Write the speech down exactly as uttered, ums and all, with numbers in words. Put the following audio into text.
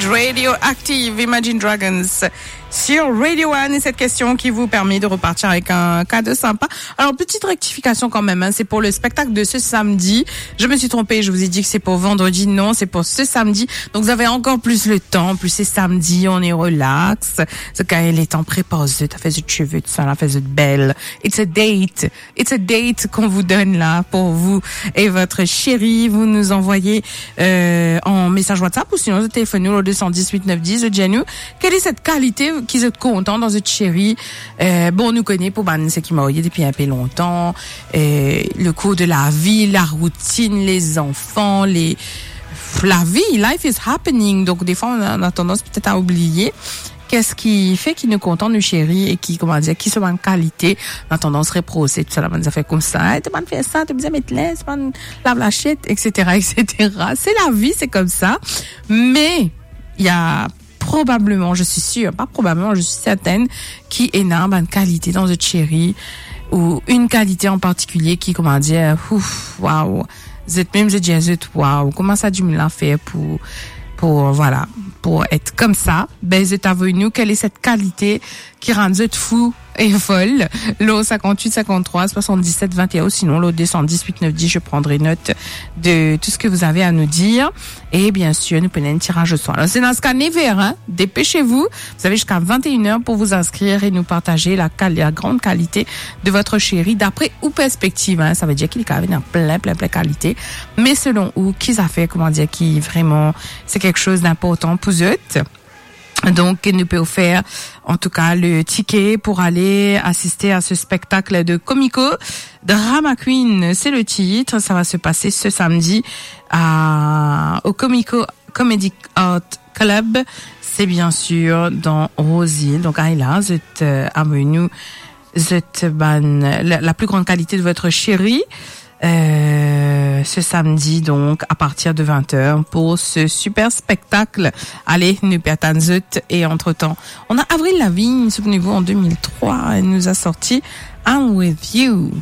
Radio Active, Imagine Dragons sur Radio One, et cette question qui vous permet de repartir avec un cadeau sympa. Alors, petite rectification quand même, hein, c'est pour le spectacle de ce samedi. Je me suis trompée, je vous ai dit que c'est pour vendredi. Non, c'est pour ce samedi. Donc, vous avez encore plus le temps. En plus, c'est samedi, on est relax. Ce gars, il est en prépa, zot fé zot cheve, tout sa, la fé zot bel. It's a date. It's a date qu'on vous donne là pour vous et votre chéri. Vous nous envoyez, euh, en message WhatsApp ou sinon zot telefone nou o deux cent dix-huit neuf dix, zot dir nou, quelle est cette qualité qui zot kontan dan zot chéri? Euh, bon, nou kone pou bann seki marye depi inpe lontan, euh, le cours de la vie, la routine, les enfants, les, la vie, life is happening. Donc, des fois, on a, on a tendance peut-être à oublier. Qu'est-ce qui fait ki nou kontan nou cheri e ki, kouma dir, ki so bann kalite, nou tandans reprose, tou sa, la bann zafer koumsa, "Eh, to pa fer sa, to bizin met linz, to pa lav lasiet, et cetera, et cetera." C'est la vie, c'est comme ça. Mais il y a probablement, je suis sûre, pas probablement, je suis certaine, ki ena bann kalite dan zot cheri, ou une qualité en particulier ki, kouma dir, ouf, waouh, zot mem zot dir zot, waouh, kouma sa dimoun la fer pou, pou, voilà, pou et koumsa. Ben, zot avoy nou, quelle est cette qualité ki rann zot fou e fol? Lo cinquante-huit cinquante-trois soixante-dix-sept vingt et un, ou sinon lo deux cent dix-huit neuf dix, je prendrai note de tout ce que vous avez à nous dire. Et bien sûr, nou pena enn tiraz o swar. Alors, c'est dans ce cas, never, hein? Dépêchez-vous. Vous avez jusqu'à vingt et une heures pour vous inscrire et nous partager la qual-, la grande qualité de votre chéri d'après ou perspective, hein. Ça veut dire qu'il y a plein, plein, plein qualité. Mais selon ou, ki zafer, kouma dir, ki vraiment, c'est quelque chose d'important pour zot. Donc, nou pe ofer, en tout cas, le ticket pour aller assister à ce spectacle de Comico. Drama Queen, c'est le titre. Ça va se passer ce samedi à, au Comico Comedy Art Club. C'est bien sûr dans Rose Hill. Donc, allez là, zot, euh, avoy nou, zot bann, la, la plus grande qualité de votre chéri. Euh, ce samedi, donc, à partir de vingt heures, pour ce super spectacle. Allez, nou pe atann zot. Et entre-temps, on a Avril Lavigne, souvenez-vous, en deux mille trois, elle nous a sorti I'm With You.